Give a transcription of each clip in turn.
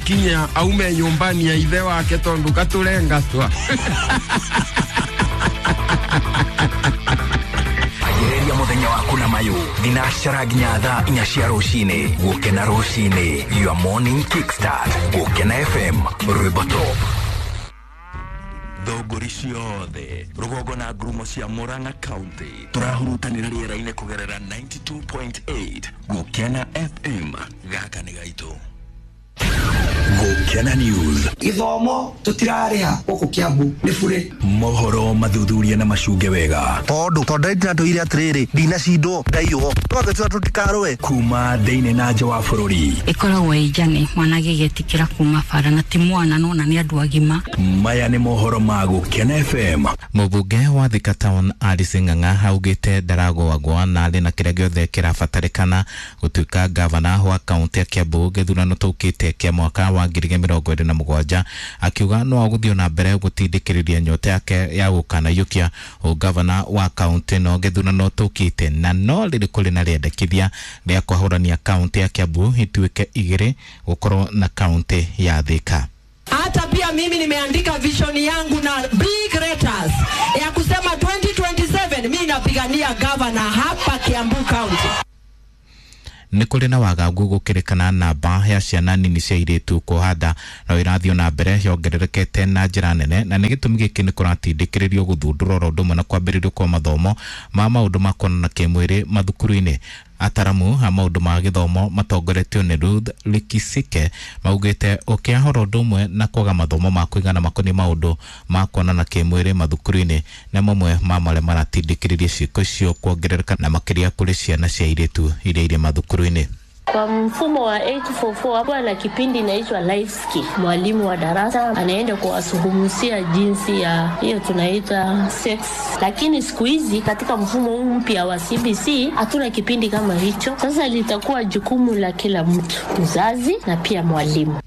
Gũkinya aume nyũmbani ya ithe wake tondũ katũrengatwa. Anjĩrĩria mũthenya waku na mayũ thinacara nginya thaa 4 cia rũcinĩ. Gũkena rũcinĩ, your morning kickstart. Gũkena FM, rwĩmbo top. Thũngũri ciothe rũgongo na ngurumo cia Murang'a County tũrahurutanĩra rĩera-inĩ kũgerera 92.8 Gũkena FM. Gaka nĩ gaitũ. Gũkena News. Gĩthomo tũtirarĩha gũkũ Kiambu nĩ bure. Mohoro mathuthuria na macunge wega. Tondũ ndĩratũire atĩrĩrĩ ndinacindwo ndaiywo twagĩtua tũtikarũe kuma thĩinĩ na nja wa bũrũri. Ĩkoragwo ĩ njane mwana agĩgĩtĩkĩra kuma bara na ti mwana nona nĩ andũ agima. Maya nĩ mohoro ma Gũkena FM. Mũmbunge wa Thika Town Alice Ng'ang'a augĩte ndaragũagũa na arĩ na kĩrĩa gĩothe kĩrabatarĩkana gũtuĩka gavana wa kaunti ya Kiambu gĩthurano tũkĩte kĩa mwaka wa 2027, akiuga no agũthiĩ na mbere gũtindĩkĩrĩria nyota yake ya gũkanaiyũkia ũgavana wa kaunti no gĩthurano tũkĩte, na no rĩrĩ kũrĩ na rĩendekithia rĩa kwahũrania kaunti ya Kiambu ituĩke igĩrĩ gũkorwo na kaunti ya Thika. Hata pia mimi nimeandika vision yangu na big letters ya kusema 2027 mimi napigania governor hapa Kiambu County. Nĩ kũrĩ na wagagu gũkĩrĩkana namba ya ciana nini cia airĩtu kuoha no ĩrathiĩ na mbere yongererekete na njĩra nene, na nĩ gĩtũmi gĩkĩ nĩ kũratindĩkĩrĩrio gũthundũrwo oro ũndũ ũmwe na kwambĩrĩrio kwa mathomo ma maũndũ ma kuonana kĩmwĩrĩ mathukuru-inĩ. Ataramu a maũndũ ma gĩthomo matongoretio nĩ Ruth Likisike maugĩte ũkĩahora ũndũ ũmwe na kwaga mathomo ma kũigana makoniĩ maũndũ ma kuonana kĩmwĩrĩ mathukuru-inĩ nĩ mamwe ma marĩa maratindĩkĩrĩria ciĩko icio kuongerereka na makĩria kũrĩ ciana cia airĩtu iria irĩ mathukuru-inĩ. Kwa mfumo wa 844 hapo na kipindi inaitwa life skill. Mwalimu wa darasa anaenda kuwazungumzia jinsi ya hiyo tunaita sex. Lakini siku hizi katika mfumo huu mpya wa CBC hatuna kipindi kama hicho. Sasa litakuwa jukumu la kila mtu, mzazi na pia mwalimu.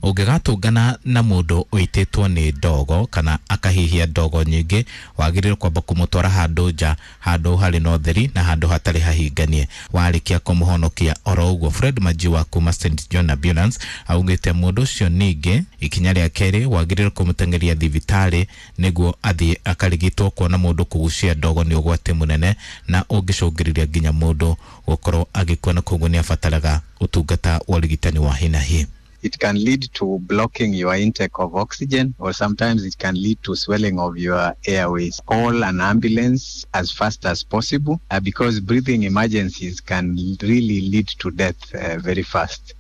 Ũngĩgatũngana na mũndũ ũitĩtwo nĩ ndogo kana akahihia ndogo nyingĩ, wagĩrĩirwo kwamba kũmũtwara handũ nja, handũ harĩ na ũtheri na handũ hatarĩ hahinganie. Warĩkia kũmũhonokia oro ũguo, Fred Majiwa kuma St John Ambulance augĩte mũndũ ũcio ningĩ ikinya rĩa kerĩ wagĩrĩirwo kũmũteng'eria thibitarĩ nĩguo athiĩ akarigitwo, kuona mũndũ kũgucia ndogo nĩ ũgwati mũnene na ũngĩcũngĩrĩria nginya mũndũ gũkorwo agĩkua, na koguo nĩ abataraga ũtungata wa ũrigitani wa hi na hi. It can lead to blocking your intake of oxygen, or sometimes it can lead to swelling of your airways. Call an ambulance as fast as possible because breathing emergencies can really lead to death very fast.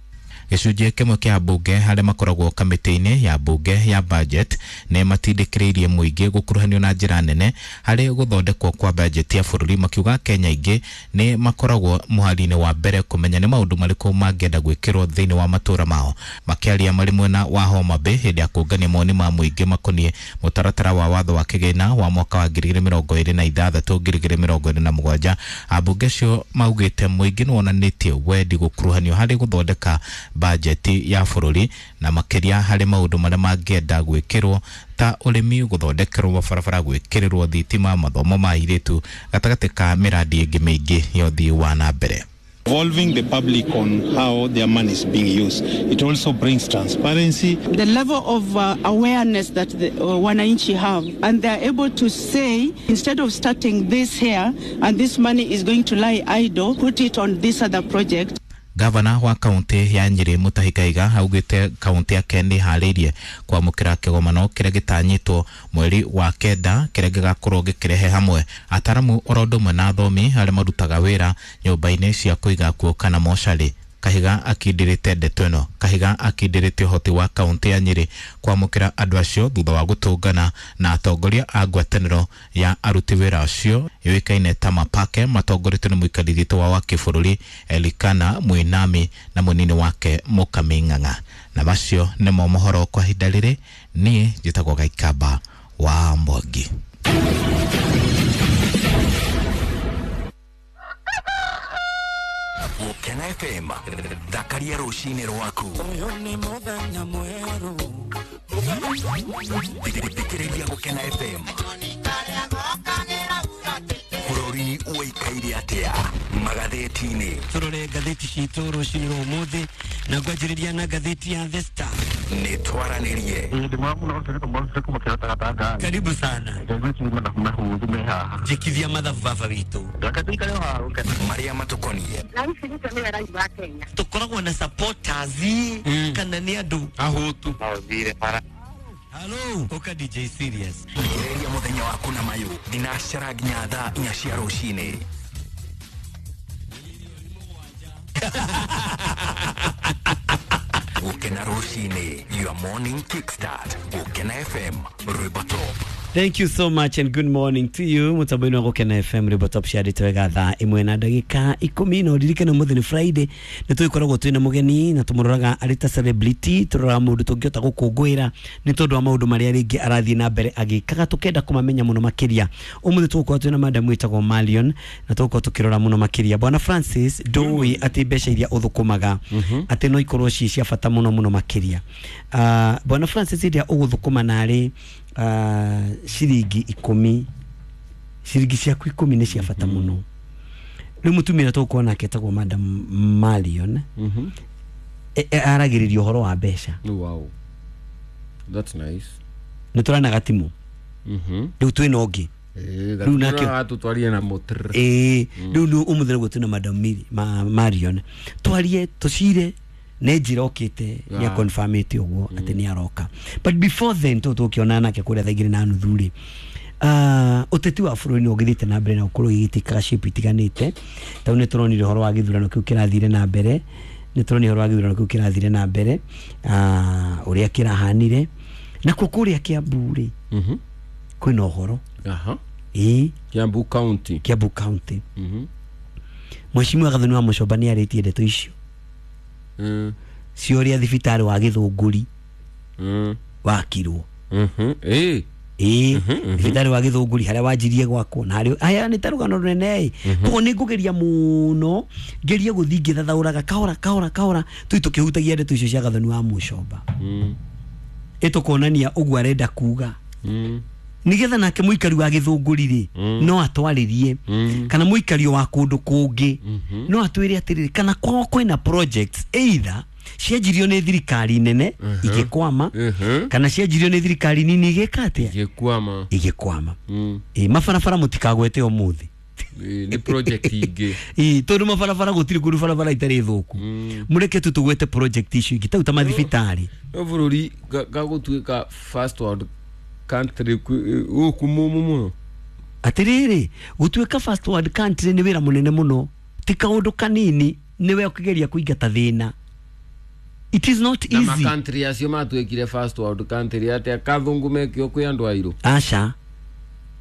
Gĩcunjĩ kĩmwe kĩa mbunge harĩa makoragwo kamĩtĩ-inĩ ya mbunge ya budget nĩ matindĩkĩrĩirie mũingĩ gũkuruhanio na njĩra nene harĩ gũthondekwo kwa budget ya bũrũri, makiuga Kenya aingĩ nĩ makoragwo mũhari-inĩ wa mbere kũmenya nĩ maũndũ marĩkũ mangĩenda gwĩkĩrwo thĩinĩ wa matũũra mao. Makĩaria marĩ mwena wa Homa Bay hĩndĩ ya kũngania mawoni ma mũingĩ makoniĩ mũtaratara wa watho wa kĩgĩna wa mwaka wa 2026 2027, ambunge acio maugĩte mũingĩ nĩ wonanĩtie wendi gũkuruhanio harĩ gũthondeka bajeti ya bũrũri na makĩria harĩ maũndũ marĩa mangĩenda gwĩkĩrwo ta ũrĩmi, gũthondekerwo mabarabara, gwĩkĩrĩrwo thitima, mathomo ma airĩtu gatagatĩ ka mĩradi ĩngĩ mĩingĩ ya ũthii wa na mbere. Involving the public on how their money is being used. It also brings transparency. The level of awareness that the wananchi have, and they are able to say, instead of starting this here and this money is going to lie idle, put it on this other project. Gavana wa kaunti ya Nyeri Mutahi Kahiga augĩte kaunti yake nĩ ĩharĩirie kwamũkĩra kĩgomano kĩrĩa gĩtanyĩtwo mweri wa 9 kĩrĩa gĩgakorwo gĩkĩrehe hamwe ataramu oro ũndũ ũmwe na athomi arĩa marutaga wĩra nyũmba-inĩ cia kũiga kuo kana mocarĩ. Kahiga akindĩrĩte ndeto ĩno. Kahiga akindĩrĩte ũhoti wa kaunti ya Nyeri kwamũkĩra andũ acio thutha wa gũtũngana na atongoria a ngwatanĩro ya aruti wĩra acio yũĩkaine ta Mapake matongoretio nĩ mũikarĩri gĩtĩ wa kĩbũrũri Elikana Muinami na mũnini wake Mũkami Ng'ang'a. Na macio nĩmo mohoro kwa ihinda rĩrĩ. Niĩ njĩtagwo Gaikamba wa Mwangi. Gũkena FM, thakaria rũcinĩ rwaku. Thikĩrĩria Gũkena FM. Bũrũri Bũrũri ũikaire atĩa magathĩti-inĩ. Tũrore ngathĩti citũ rũcinĩ rwa ũmũthĩ na ngwanjĩrĩria na ngathĩti ya The Star. Nĩ twaranĩrie. Karibu sana. Njĩkithia mathabu baba witũ. Marĩa matũkoniĩ. Tũkoragwo na supporters kana nĩ andũ ahũtu. Hello, ũka DJ Serious. Gereria mũthenya waku na mayũ thinacara nginya thaa 4 cia rũcinĩ. Gũkena rũcinĩ, your morning kickstart. Gũkena FM, Rwĩmbo Top. Thank you so much and good morning to you. Mutambo-inĩ wa Gũkena FM Rwĩmbo Top ciarĩte wega thaa 1 na ndagĩka 10 na ũririkane ũmũthĩ nĩ Friday nĩ tũgĩkoragwo twĩna mũgeni na tũmũroraga arĩ ta celebrity, tũroraga mũndũ tũngĩhota gũkũngũĩra nĩ tondũ wa maũndũ marĩa rĩngĩ arathiĩ na mbere agĩkaga, tũkenda kũmamenya mũno makĩria. Ũmũthĩ tũgũkorwo twĩna madam wĩtagwo Marion na tũgũkorwo tũkĩrora mũno makĩria. Bwana Francis, ndũĩ atĩ mbeca iria ũthũkũmaga atĩ no ikorwo ciĩ cia bata mũno mũno makĩria. Bwana Francis, iria ũgũthũkũma narĩ ciringi 10, ciringi ciaku 10 nĩ cia bata mũno. Rĩu mũtumia tũgũkorwo nake etagwo Madam Marion aragĩrĩria ũhoro wa mbeca. Wow. That's nice. Nĩ tũrana gatimu. Rĩu twĩna ũngĩ. Rĩu nake tũtwarie na mũtr. Rĩu nĩ ũmũthĩ nĩguo twĩna Madam Marion. Twarie tũcire nĩ njĩra okĩte nĩ confirmĩte ũguo atĩ nĩ aroka. But before then tũkĩonana nake kũrĩa thaa 2:30 rĩ, ũteti wa bũrũri nĩ ũgĩthiĩte na mbere na gũkorwo ũgĩgĩtĩkaga shape itiganĩte. Tondũ nĩ tũronire ũhoro wa gĩthurano kĩu kĩrathire na mbere, nĩ tũronire ũhoro wa gĩthurano kĩu kĩrathire na mbere, ũrĩa kĩrahanire. Nakuo kũrĩa Kiambu rĩ, kwĩna ũhoro. Kiambu County. Kiambu County. Mheshimiwa Gathoni wa Mũcomba nĩ arĩtie ndeto icio cia ũrĩa thibitarĩ wa Gĩthũngũri wakirwo. Thibitarĩ wa Gĩthũngũri harĩa wanjirie gwakwo na harĩa aya nĩ ta rũgano rũnene. Koguo nĩ ngũgeria mũno ngerie gũthiĩ ngĩthathaũraga kahora kahora kahora tũi tũkĩhutagia ndeto icio cia Gathoni wa Mũcomba. Ĩtũkonania ũguo arenda kuga nigetha nake mũikari wa Gĩthũngũri rĩ no atwarĩrie, kana mũikari wa kũndũ kũngĩ no atwĩre atĩrĩrĩ, kana kwao kwĩna projects either cianjirio nĩ thirikari nene igĩkwama, kana cianjirio nĩ thirikari nini igĩka atĩa, igĩkwama. Mabarabara mũtikagwete ũmũthĩ nĩ project ingĩ. Tondũ mabarabara gũtirĩ kũndũ barabara itarĩ thũku. Mũreke tu tũgwete project icio ingĩ tau ta mathibitarĩ. No bũrũri gagũtuĩka first world country gũkũ mũmũ mũno. Atĩrĩrĩ, gũtuĩka first world country nĩ wĩra mũnene mũno, ti kaũndũ kanini, nĩwe ũkĩgeria kũingata thĩna. It is not easy. Na country acio matuĩkire first world country atĩa kathũngũ mekio kwĩ andũ airũ? Aca,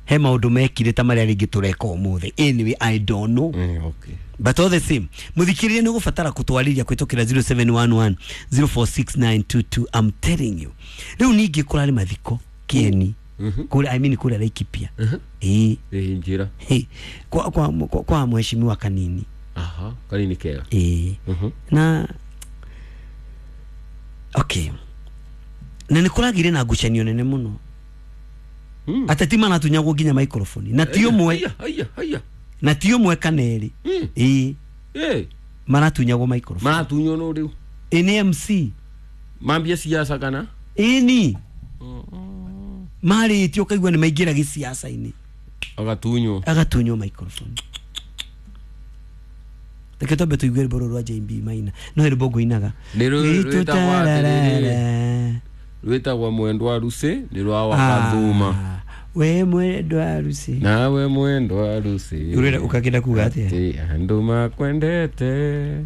he maũndũ mekire ta marĩa rĩngĩ tũreka ũmũthĩ. Anyway, I don't know. Okay. But all the same, mũthikĩrĩria nĩ ũgũbatara kũtwarĩria kũhĩtũkĩra 0711 046922. I'm telling you. Rĩu ningĩ kũrarĩ mathiko Kieni. Kũrĩa, I mean kũrĩa Laikipia. Njĩra. Kwa mheshimiwa Kanini. Aha, Kanini kega. Na okay. Na nĩ kũragĩire na ngucanio nene mũno. Ateti manatunyagwo nginya microphone. Na ti ũmwe. Na ti ũmwe kana erĩ. Maratunyagwo microphone. Maratunywo no rĩu. Nĩ MC. Mambia siasa kana? Ni. Marĩtio ũkaigua nĩ maingĩra gĩciaca-inĩ. Agatunywo. Agatunywo microphone. Reke twambe tũigue rwĩmbo rũrũ rwa JB Maina. No rwĩmbo ngũinaga. Nĩ rwĩtagwo atĩrĩrĩ. Rwĩtagwo Mwendwa Rusi, nĩ rwa Wakathuma. We mwendwa Rusi. Nawe mwendwa Rusi. Ũrenda ũkakĩenda kuga atĩa? Atĩ andũ makwendete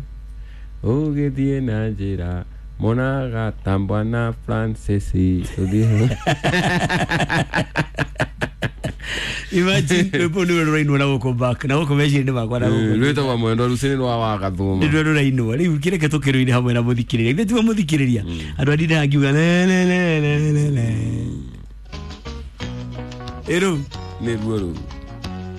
ũgĩthiĩ na njĩra monaga ta Bwana Francis ũthiĩ. Imagine rwĩmbo nĩwe rũrainwo na gũkũ back na gũkũ meciria-inĩ makwa na gũkũ. Rwĩtagwo Mwendwa Rusi nĩ rwa Wakathuma. Nĩ rũrainwo. Rĩu kĩreke tũkĩrũine hamwe na mũthikĩrĩria. Ithuĩ tiwe mũthikĩrĩria. Andũ a ndindaga ngiuga le le le le le le. Ĩrũ nĩ ruo rũu.